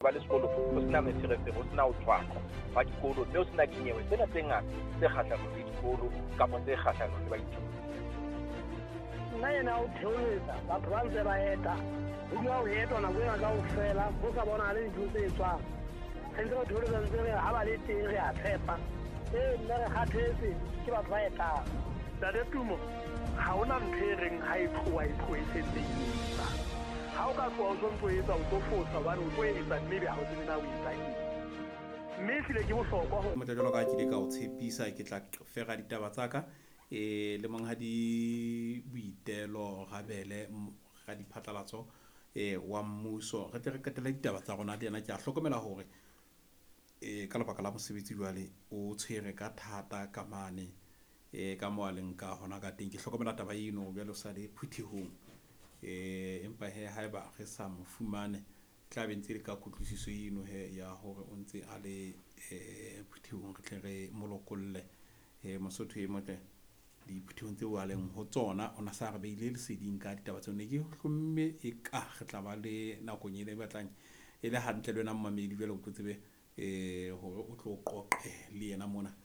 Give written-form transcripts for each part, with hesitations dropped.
Ba le sekolo ho sena meferefere, ho sena ho tshwaqwa hwa dikolo, mme ho sena dinyewe tsena tse ngata tse kgahlanong le dikolo kapa tse kgahlanong le baithuti. Nna ena o theoletsa batho ba ntse ba eta, ho dula ho etwa nako ena kaofela, ho sa bonahale dintho tse etswang. Re ntse re theoletsa, ntse re ha ba le teng re a tshepa. Ee, nna re kgathetse ke batho ba etang. Ntate Tumo, ha hona ntho e reng ha e tloha e tlohe e setse e etsa. Ha o ka tloha o sontso o etsa, o tlo fosa hobane o tlo etsa mme ebe ha o tsebe na o etsa eng. Mme ehlile ke bohlokwa ho. Motle jwalo ka ha ke ile ka o tshepisa, ke tla fera ditaba tsa ka e le monghadi Boitelo Rabele, radiphatlalatso e wa mmuso. Re tle re qetelle ditaba tsa rona le yena. Ke a hlokomela hore e ka lebaka la mosebetsi jwale o tshwere ka thata ka mane e ka moo a leng ka hona ka teng. Ke hlokomela taba eno jwale o sa le phuthehong. Empa he haeba re sa mo fumane, tla be ntse le ka kutlwisiso eno he ya hore o ntse a le phuthehong, re tle re mo lokolle. Mosotho e motle diphuthehong tseo a leng ho tsona, o na sa re beile leseding ka ditaba tseo. Ne ke hlomme e ka re tla ba le nakong ena e batlang e le hantle le wena mmamedi, jwale o tlo tsebe hore o tlo qoqe le yena mona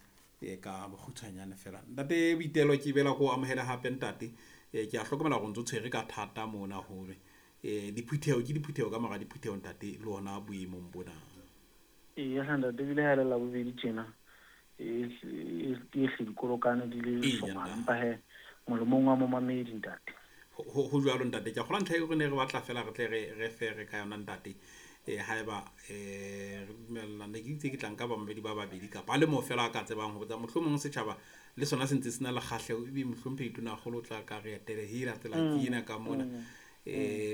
ka bokgutshwanyane fela. Ntate Boitelo, ke bela ko amohela hape ntate. Ke a hlokomela hore o ntso tshwere ka thata mona hore diphutheho ke diphutheho ka mora diphutheho ntate, le hona boemong bona. Eya hle ntate, ebile ha e le Labobedi tjena e hle dikolokane di le hlongwana, empa he molemong wa momamedi ntate. Ho jwalo ntate, ke a kgolwa ntlha eo re ne re batla fela re tle re fere ka yona ntate. Haeba re dumella, ne ke itse ke tla nka bamamedi ba babedi kapa a le moo fela a ka tsebang ho botsa, mohlomong setjhaba le sona se ntse se na le kgahleho, ebe mohlomphehi Tonakgolo o tla ka re etele hela tsela ke ena ka mona.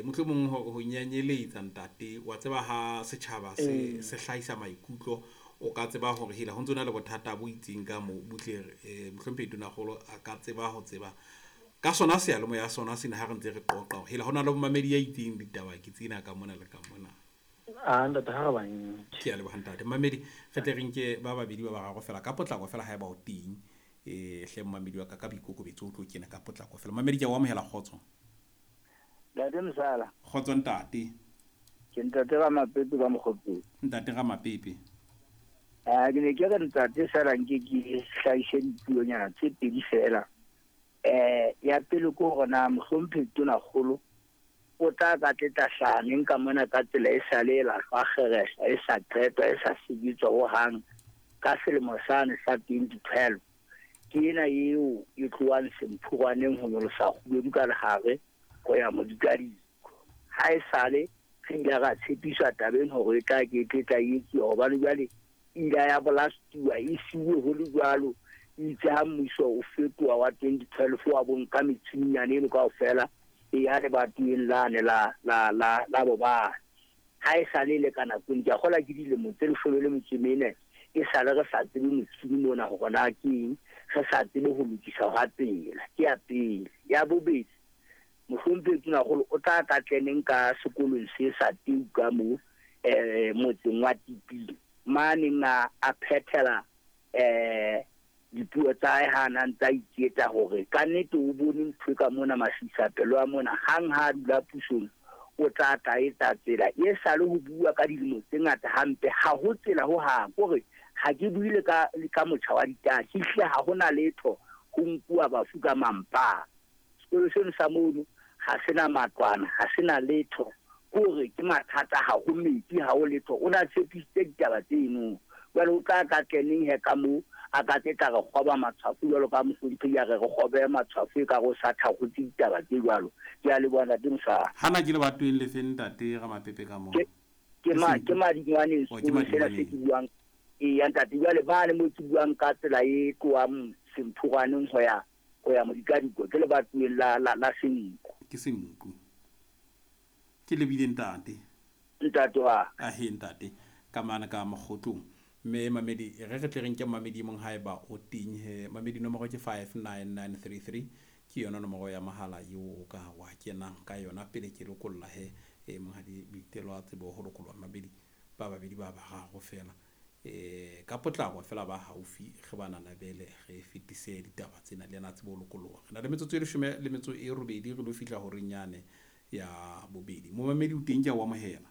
Mohlomong ho nyanyeletsa ntate, wa tseba ha setjhaba se hlahisa maikutlo, o ka tseba hore hela ho ntso na le bothata bo itseng ka moo, butle mohlomphehi Tonakgolo a ka tseba ho tseba ka sona seyalemoya sona sena ha re ntse re qoqa hore hela ho na le momamedi ya itseng ditaba ke tsena ka mona le ka mona. A ntate, ha re ba nke. Ke a leboha ntate. Mamedi, re tle re nke ba babedi ba bararo fela ka potlako fela haeba o teng. Hle momamedi wa ka ka boikokobetso o tlo kena ka potlako fela. Mamedi, ke a o amohela, kgotso. Ntate Msala. Kgotso ntate. Ke ntate Ramapepe ka Mokgopeng. Ntate Ramapepe. Ke ne ke re ntate fela nke ke hlahise dipuonyana tse pedi fela. Ya pele ke hore na mohlomphehi Tonakgolo o tla ka tletla hlahaneng ka mona ka tsela e sa le e lahlwa kgerehla, e sa qetwa, e sa sebetswa hohang ka selemo sane sa 2012. Ke ena eo e tlohang Semphurwaneng ho nyolosa Kgubedu ka lehare ho ya Modikadiko. Ha e sale re ile ra tshepiswa tabeng hore e tla ke e tla etsuwa, hobane jwale e ile ya bolastuwa, e siuwe ho le jwalo. Itse ha mmuso o fetoha wa 2012 wa bonka metjhinyane eno kaofela e ya lebatoweng lane la la la la bobane. Ha e sale le ka nakong, ke a kgolwa ke dilemo tse 14 e sale re sa tsebe motjhini mona hore na ke eng, re sa tsebe ho lokisa hwa tsela. Ke ya pele. Ya bobedi, mohlomphehi Tonakgolo o tla ka tleneng ka sekolong se sa Teu ka moo, motseng wa Tiping, maneng a phethela dipuo tsa hae ha a ntsa iketsa hore ka nnete o bone ntho e ka mona masisapelo a mona. Hang ha a dula pusong o tla tla etsa tsela e sale ho bua ka dilemo tse ngata hampe, ha ho tsela ho hang. Kore ha ke buile ka motjha wa ditaba, ke hlile ha hona letho ho nkuwa bafu ka mampa. Sekolo seno sa mono ha sena matlwana, ha sena letho, kore ke mathata, ha ho metsi, ha ho letho. O na tshepisitse ditaba tseno, jwale o tla ka tleneng he ka moo a ka tse tla re kgoba matshwafo jwalo ka mohlomphehi a re re kgobe matshwafo e ka re o sa thakgotse ditaba tse jwalo. Ke a leboha ntate Mosala. Hana ke lebatoweng le feng ntate Ramapepe ka moo? Ke Madingwaneng sekolo sena se ke buang. Eya ntate, jwale mane moo ke buang ka tsela e tlohang Semphurwaneng ho ya Modikadiko, ke lebatoweng la Senku. Ke Senku. Ke lebile ntate. Ntate wa. Ahe ntate, ka mane ka Mokgotlong. Mme mamedi, re re tle re nke mamedi mong haeba o teng he. Mamedi nomoro ke 59933, ke yona nomoro ya mohala eo o ka wa kenang ka yona pele ke lokolla he. Monghadi Boitelo a tsebe ho lokollwa mamedi ba babedi ba bararo fela. Ka potlako fela ba haufi re ba nanabele re fetise ditaba tsena le yena tsebe ho lokolloha. Re na le metsotso e 18 re lo fihla horeng yane ya bobedi. Momamedi o teng, ke a o amohela.